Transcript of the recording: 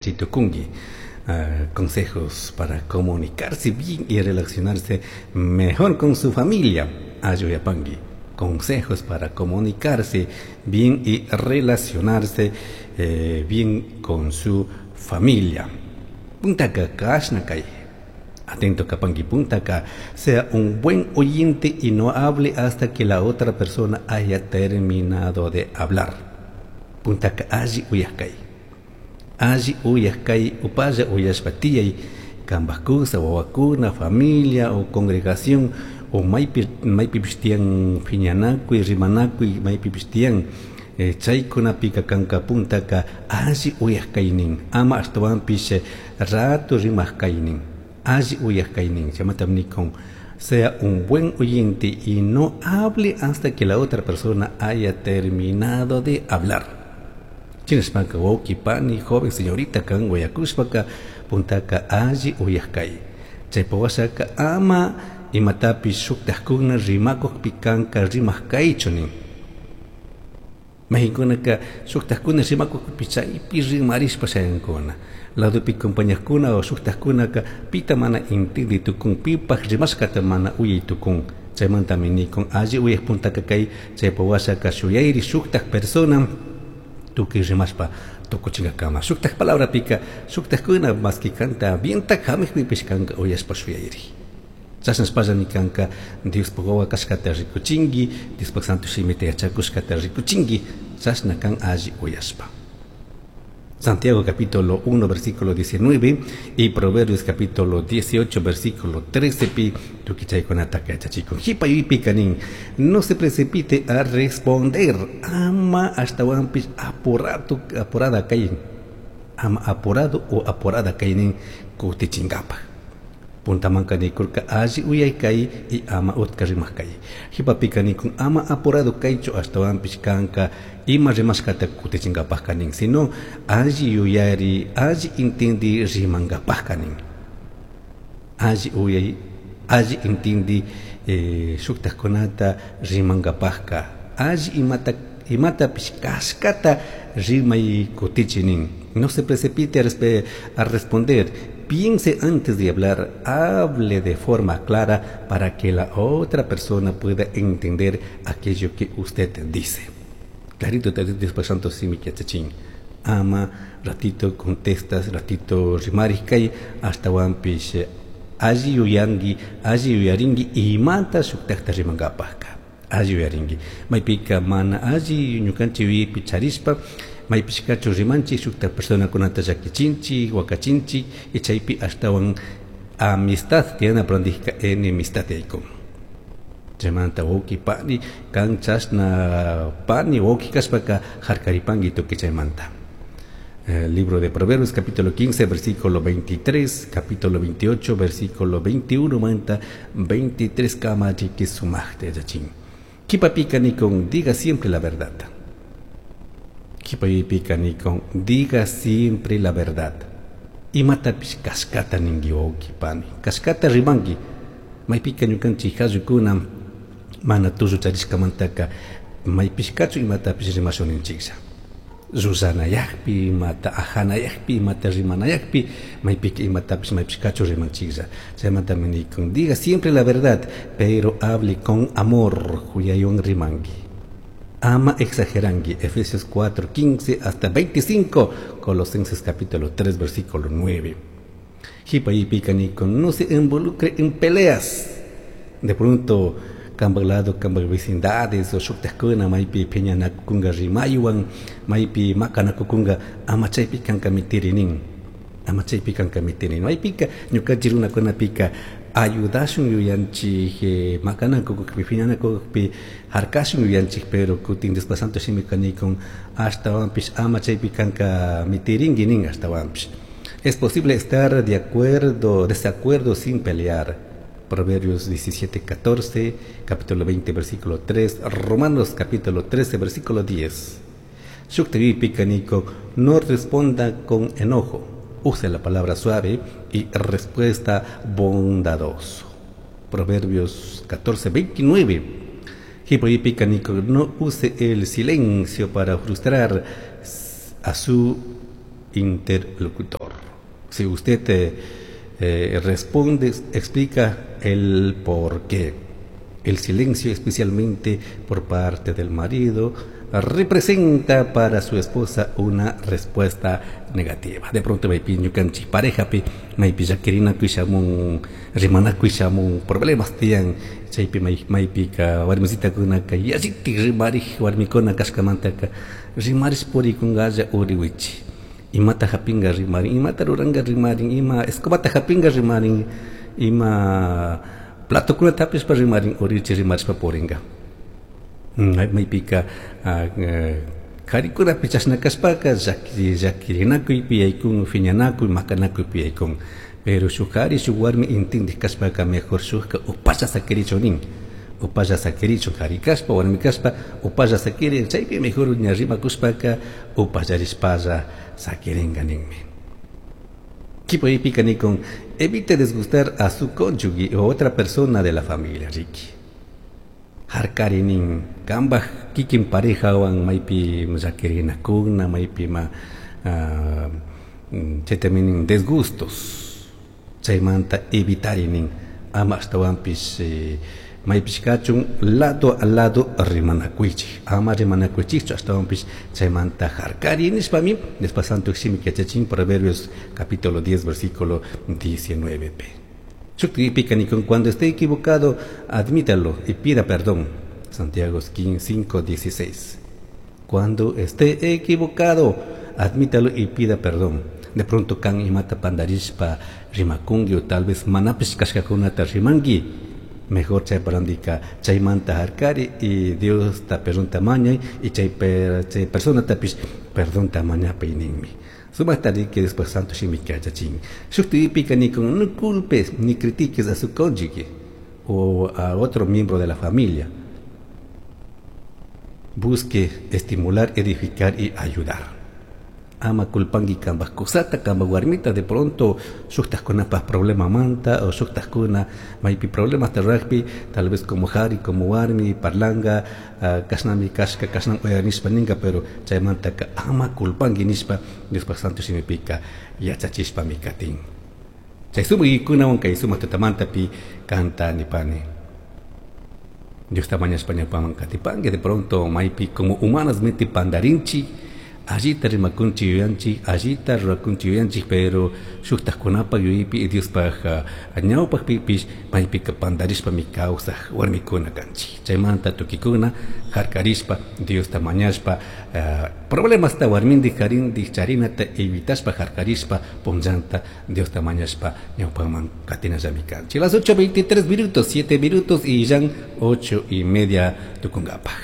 Yachai tucungui. Consejos para comunicarse bien y relacionarse mejor con su familia. Alli uyapangui. Consejos para comunicarse bien y relacionarse bien con su familia. Puntaka kashna kay. Atento kapangui puntaka. Sea un buen oyente y no hable hasta que la otra persona haya terminado de hablar. Puntaka alli uyaj kay. Alli uyaj kay upalla uyashpa tiyay kambaj kusa, wawakuna, familia o congregación o maypipish tiyan phiñanakuy, rimanakuy, maypipish tiyan chaykunapika kanka puntaka alli uyaj kaynin, ama ashtawanpish rato rimaj kaynin, alli uyaj kaynin. Chaymantami nikun, sea un buen oyente y no hable hasta que la otra persona haya terminado de hablar. Chinashpaka wawqi pani, joven señorita kan uyakushpaka puntaka alli uyaj kay. Chaypa washaka ama imatapish shuktajkuna rimakukpi kanka rimaq kaychu nin. Mayqinkunaka shuktajkuna rimakukpi chaypi rimarishpa shayankuna. Ladopi compañajkuna o shuktajkunaka pita mana intindi tukun, pipaj rimashkata mana uyay tukun. Chaymantami nikun alli uyaj puntaka kay, chaypa washaka shuyayri shuktaj persona tukuy rimashpa tukuchinkakama. Shuktaj palabrapika shuktajkuna maski kanta bientak hamikpipish kanka uyashpa shuyayri. Chashnashpallami kanka Diospaj wawa kashkata rikuchinki, Diospaj Santo Shimita yachakushkata rikuchinki, chashna kan alli uyashpa. Santiago capítulo 1 versículo 19 y Proverbios capítulo 18 versículo 13 pi tukuy chaykunata yachachikun. Jipa yuypika nin, no se precipite a responder, ama ashtawanpish apurado, apurada kay, ama apurado o apurada kay nin kutichinkapaj. Puntamanka nikurka alli uyay kay y ama utka rimaq kay. Jipapika nikun ama apurado kaychu ashtawanpish kanka ima rimashkata kutichinkapajka nin, sino alli yuyari, alli intindi rimankapajka nin. Alli uyay, alli intindi shuktajkunata rimankapajka, alli imatapish kashkata rimay kutichi nin. No se precipite a responder. Piense antes de hablar, hable de forma clara para que la otra persona pueda entender aquello que usted dice. Clarito te dice Dios Santo Simi Yachachin. Ama, ratito contestas, ratito rimariskai, hasta wampish alli yuyangi, alli yuyaringi, imata shuktakta rimankapajka. Alli yuyaringi. Maypika mana alli ñukanchik yuyaypi charishpa, maypishkachu rimanchik shukta personakunata llakichinchik, wakachinchik, y chaypi ashtawan amistad tiyana prandijka enemistad yaykun. Chaymanta wawqi pani kan chashna pani wawqi kashpaka harkaripanki tukuy chaymanta. Libro de Proverbios capítulo 15 versículo 23, capítulo 28 versículo 21 manta 23 kama chiki sumajta yachachin. Kipapika nikun, diga siempre la verdad. Kipapika nikun, diga siempre la verdad. Imatapish kashkata ningi wawqi pani, kashkata rimanki. Maypika ñukanchik hallukuna mana tullu charishkamantaka maypishkachu imatapish rimashun ninchiklla. Llusanayakpi, imata ajanayakpi, imata rimanayakpi, maypika imatapish maypishkachu rimanchiklla. Chaymantami nikun, diga siempre la verdad, pero hable con amor, huyaywan rimanki. Ama exagerangi. Efesios 4, 15 hasta 25, Colosenses capítulo 3, versículo 9. Jipa y pica nikun, no se involucre en peleas. De pronto, kambaj lado, kambaj vecindades, o shuktajkuna, maypi phiñanakukunga rimaywan, maypi maqanakukunga, ama chaypi kanka mitirinin. Ama chaypi kanka mitirinin. Maypika ñukanchik runakunapika ayudashun yuyanchik, maqanakukukpi, phiñanakukukpi, harkashun yuyanchik, pero kutin Diospa Santo Shimika nikun, ashtawanpish ama chaypi kanka mitirinki nin ashtawanpish. Es posible estar de acuerdo, desacuerdo sin pelear. Proverbios 17, 14, capítulo 20, versículo 3, Romanos capítulo 13, versículo 10. Shuktevi picaniko, no responda con enojo, use la palabra suave y respuesta bondadoso. Proverbios 14, 29. Hipoyi picaniko, no use el silencio para frustrar a su interlocutor. Si usted responde, explica el por qué. El silencio, especialmente por parte del marido, representa para su esposa una respuesta negativa. De pronto maypi ñukanchik parejapi maypi llakirinakuy shamun, rimanakuy shamun, problemas tiyan, chaypi maypika warmisitakunaka yallitik rimarik warmikuna kashkamantaka rimarish purikunkalla uriwichi. Imata hapinga rimarin, imata ruranga rimarin, ima escobata hapinga rimarin, ima platokunata hapishpa rimarin, uriwichi rimarishpa puringa. Maypika karikunapi chashna kashpaka llakirinakuypi yaykun, phiñanakuy, makanakuypi yaykun. Pero shuk kari shuk warmi intindik kashpaka mejor shukka upalla sakirichu nin. Upalla sakirichu kari kashpa, warmi kashpa, upalla sakirin, chaypi mejor ña rimakushpaka upallarishpalla sakiringa ninmi. Kipoypika nikun, evite disgustar a su cónyuge o otra persona de la familia, Ricky. Harkari nin, kambaj kikin parejawan maypi llakirinakuna, maypi ma chaytami nin desgustos, chaymanta evitari nin, ama ashtawanpish maypish kachun lado a lado rimanakuychik, ama rimanakuychikchu ashtawanpish chaymanta harkari nishpami, después santo shimi yachachin Proverbios capítulo 10 versículo 19 p. Shukti nikun, cuando esté equivocado, admítalo y pida perdón. Santiago 5:16. Cuando esté equivocado, admítalo y pida perdón. De pronto kan imata pandarishpa rimakungi o tal vez manapish kashkakunata rimangi. Mejor chay parandika chaymanta harkari y Dios ta perdón tamañay y chay persona tapish perdón tamañapay ninmi. Sumatari que después santo shimi kachachin. Shukti pika nikun, no culpes ni critiques a su cónyuge o a otro miembro de la familia. Busque estimular, edificar y ayudar. Ama culpangi kambaj kusata, kambaj warmita, de pronto shuktajkunapas problema manta o shuktajkuna maypi problemas rugby, tal vez como jari, como warmi, parlanga, kashnami kashka, kashnam uyarinishpa ninga, pero chaymantaka ama culpangi nishpa, Diospak santo shimipika yachachishpami katin. Chay sumakikunawan kay sumak tutamantapi kanta nipani. Dios mañashpa ñawpaman katipangi, de pronto maypi como humanas menti pandarinchi, allita rimakunchik yuyanchik, allita rurakunchik yuyanchik, pero shuktajkunapaj yuyaypi y Diospaj ñawpajpipish maypika pandarishpami kawsaj warmikuna kanchik. Chaymanta tukikuna harkarishpa, Diosta mañashpa, problemasta warmindik karindik charinata evitashpa harkarishpa punllanta Diosta mañashpa ñawpaman katinallami kanchik. Las 8:23 minutos, 7 minutos y ya 8:30 tukunkapaj.